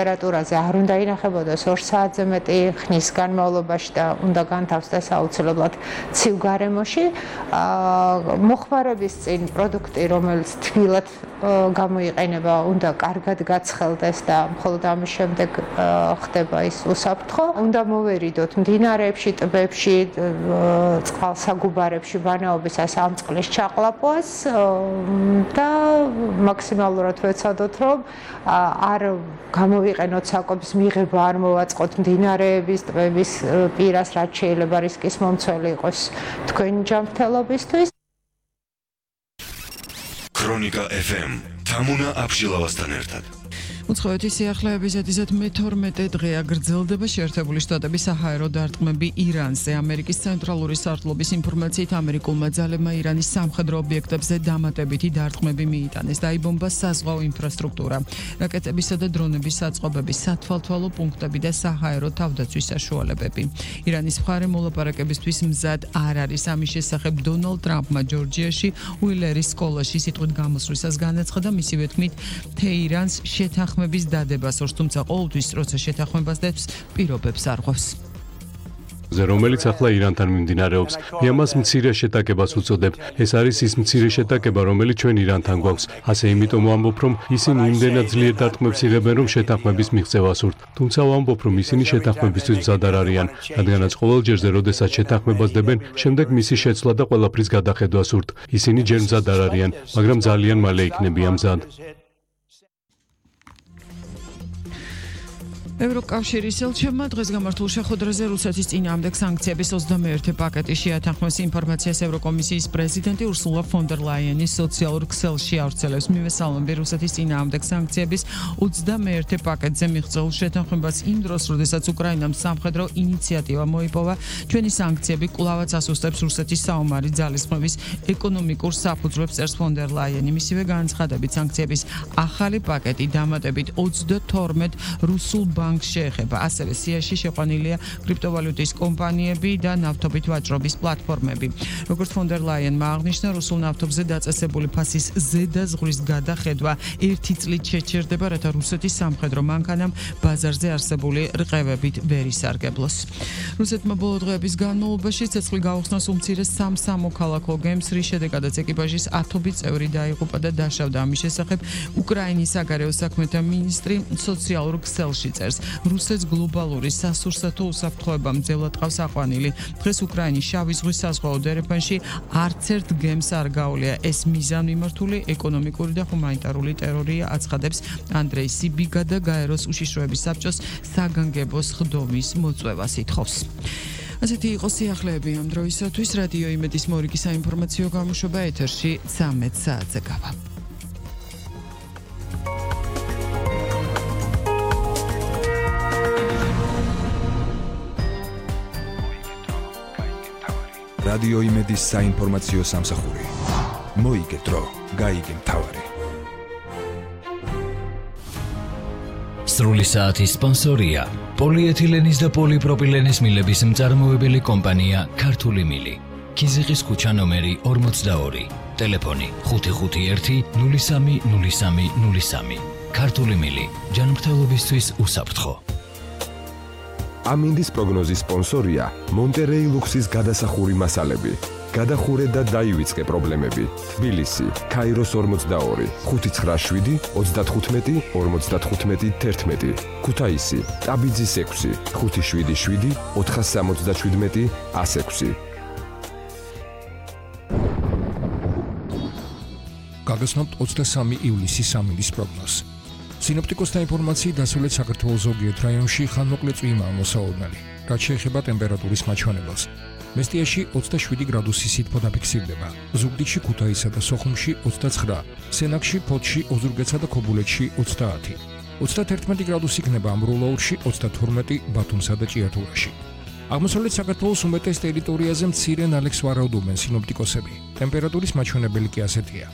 ტემპერატურაზე არ უნდა ინახებოდეს 2 საათზე მეტი ხნის განმავლობაში და უნდა განთავსდეს აუცილებლად ცივ გარემოში. მოხმარების წინ პროდუქტი, რომელიც თბილად გამოიყენება, უნდა კარგად გაცხელდეს და მხოლოდ ამის შემდეგ ხდება ის უსაფრთხო. უნდა მოვერიდოთ მდინარეებში, ტბებში, წყალსაგუბარებში ვანაობისას ამ წყლის ჩაყლაპვას და მაქსიმალურად ვეცადოთ, რომ არ გამოვიყენოთ საკვების მიღება, არ მოვაწყოთ მდინარეების, ტბების პირას, რაც შეიძლება რისკის მომცველი იყოს თქვენი ჯანმრთელობისთვის. ქრონიკა FM თამუნა აბშილავასთან ერთად. უცხოეთის სიახლეების ზედიზედ მე-12 დღეა გრძელდება შეერთებული შტატების საჰაერო დარტყმები ირანზე. ამერიკის ცენტრალური სარდლობის ინფორმაციით ამერიკულმა ძალებმა ირანის სამხედრო ობიექტებზე დამატებითი დარტყმები მიიტანეს. დაიბომბა საზღვაო ინფრასტრუქტურა, რაკეტებისა და დრონების საწყობები, სათვალთვალო პუნქტები და საჰაერო თავდაცვის საშუალებები. ირანის მხარე მოლაპარაკებისთვის მზად არ არის. ამის შესახებ დონალდ ტრამპმა ჯორჯიაში უილერის სკოლაში სიტყვით გამოსვლისას განაცხადა, მისივე თქმით, თეირანს შეთანხმების დადებას ორს, თუმცა ყოველთვის, როცა შეთანხმებას დებს, პირობებს არღვევს. რომელიც ახლა ირანთან მიმდინარეობს. ამას მცირე შეტაკებას უწოდებ. ეს არის ის მცირე შეტაკება, რომელიც ჩვენ ირანთან გვაქვს. ასე იმიტომ ვამბობ, რომ ისინი იმდენად ძლიერ დარტყმებს იღებენ, რომ შეთანხმების მიღწევა სურთ. თუმცა ვამბობ, რომ ისინი შეთანხმებისთვის მზად არ არიან, რადგანაც ყოველ ჯერზე, როდესაც შეთანხმებას დებენ, შემდეგ მისი შეცვლა და ყველაფრის გადახედვა სურთ. ისინი ჯერ მზად არ არიან, მაგრამ ძალიან მალე იქნებიან მზად. ევროკავშირის ელჩებმა დღეს გამართულ შეხვედრაზე რუსეთის წინააღმდეგ სანქციების 21 პაკეტი შეათანხმეს. ინფორმაციას ევროკომისიის პრეზიდენტი ურსულა ფონ დერ ლაიენი სოციალურ ქსელში ავრცელებს. მივესალმები რუსეთის წინააღმდეგ სანქციების 21 პაკეტზე მიღწეულ შეთანხმებას იმ დროს, როდესაც უკრაინამ სამხედრო ინიციატივა მოიპოვა. ჩვენი სანქციები კვლავაც ასუსტებს რუსეთის საომარი ძალისხმევის ეკონომიკურ საფუძვლებს, წერს ფონ დერ ლაიენი. მისივე განცხადებით, სანქციების ახალი პაკეტი დამატებით 22 რუსულ შეეხება. ასევე სიაში შეყვანილია კრიპტოვალუტის კომპანიები და ნავთობით ვაჭრობის პლატფორმები. როგორც ფონ დერ ლაიენმა აღნიშნა, რუსულ ნავთობზე დაწესებული ფასის ზედაზღვრის გადახედვა 1 წლით შეჩერდება, რათა რუსეთის სამხედრო მანქანამ ბაზარზე არსებული რყევებით ვერ ისარგებლოს. რუსეთმა ბოლო დღეების განმავლობაში ცეცხლი გაუხსნა უმცირეს სამ სამოქალაქო გემს, რის შედეგადაც ეკიპაჟის 10 წევრი დაიღუპა და დაშავდა. ამის შესახებ უკრაინის საგარეო საქმეთა მინისტრი სოციალურ ქსელში წერს. რუსეთს გლობალური სასურსათო უსაფრთხოება მძევლად ყავს აყვანილი. დღეს უკრაინის შავი ზღვის საზღვაო დერეფანში არც ერთ გემს არ გაუვლია. ეს მიზანმიმართული ეკონომიკური და ჰუმანიტარული ტერორია, აცხადებს ანდრეი სიბიგა და გაეროს უშიშროების საბჭოს საგანგებოს ხდომის მოწვევას ითხოვს. ასეთი იყო სიახლეები ამ დროისათვის. რადიო იმედის მორიგი საინფორმაციო გამოშვება ეთერში 13 საათზე გავა. რადიო იმედის საინფორმაციო სამსახური. მოიგე დრო, გაიგე მთავარი. სრული საათის სპონსორია პოლიეთილენის და პოლიპროპილენის მილების მწარმოებელი კომპანია ქართული მილი. ქიზიყის ქუჩა ნომერი 42, ტელეფონი 551 03 03 03. ქართული მილი, ჯანმრთელობისთვის უსაფრთხო. ამინდის პროგნოზის სპონსორია მონტერეი ლუქსის გადასახური მასალები. გადახურე და დაივიწყე პრობლემები. თბილისი, ქაიროს 42, 597 35 55 11. ქუთაისი, ტაბიძის 6, 577 477 106. გაგაცნობთ 23 ივლისის ამინდის პროგნოზს. სინოპტიკოსთა ინფორმაციით დასავლეთ საქართველოს ზოგიერთ რაიონში ხანმოკლე წვიმაა მოსაოდნელი, რაც შეეხება ტემპერატურის მაჩვენებელს. მესტიაში 27 გრადუსი სითბო დაფიქსირდება, ზუგდიდში, ქუთაისსა და სოხუმში 29, სენაკში, ფოთში, ოზურგეთსა და ქობულეთში 30. 31 გრადუსი იქნება ამბროლაურში, 32 ბათუმსა და ჭიათურაში. აღმოსავლეთ საქართველოს უმეტეს ტერიტორიაზე მცირე ნალექს ვარაუდობენ სინოპტიკოსები. ტემპერატურის მაჩვენებელი კი ასეთია.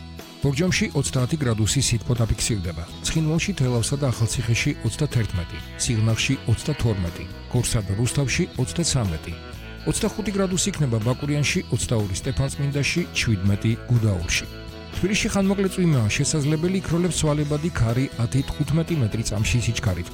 ბორჯომში 30 გრადუსი სითბო დაფიქსირდება, ცხინვალში, თელავსა და ახალციხეში 31, სიღნაღში 32, გორსა და რუსთავში 33. 25 გრადუსი იქნება ბაკურიანში, 22 სტეფანწმინდაში, 17 გუდაურში. თბილისში ხანმოკლე წვიმაა შესაძლებელი, იქროლებს ცვალებადი ქარი 10-15 მეტრი წამში სიჩქარით.